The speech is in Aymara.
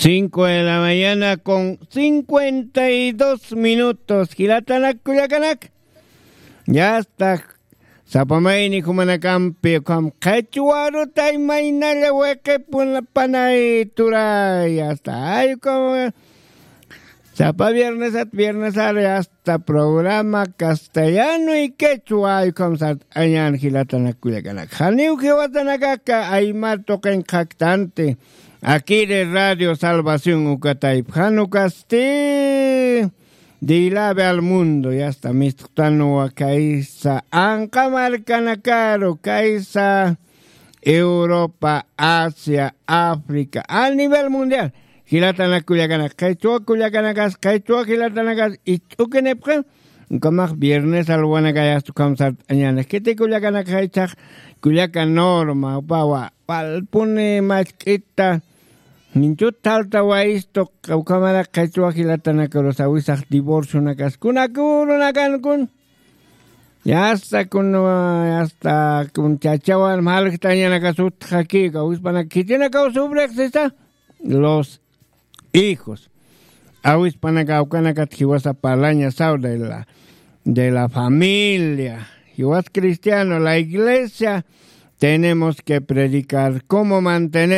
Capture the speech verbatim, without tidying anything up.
Cinco de la mañana con cincuenta y dos minutos. Jilatanak kullakanak, yasta sapamayni jumanakampi ukham qhichwarutay maynalla wiqipuna panay turay, yasta ay ukham sapa viernesat viernesar yasta programa castellano y quechua ay ukham sart'añan. Jilatanak kullakanak, janiw jiwatanakaka aymar tuqin qhaktanti akiri radio salvación ukatayp jan ukasti. Dilabe al mundo, yasta mistqtanwa kaysa anqa markanakaru kaysa Europa, Asia, África, a nivel mundial. Jilatanak kullakanak qhichwa kullakanakas qhichwa jilatanakas ich'ukinipxi. Ukamax viernes alwanakayasta ukham sart'añana kiti kullakanak jaychhax kullaka norma upawa walpuni machk'ita ninchut talta wayistu. Ukhamarak qhichwa jilatanakarus awisax divorcionakas kunakurunakan kun yasta kun yasta kun chachawan malktañanakas utxakika awispanak khitinakaw subrexsisa los hijos. Awispanaka awkanakat jiwasa parlaña saw de la de la familia jiwas cristiano la iglesia tenemos que predicar cómo mantener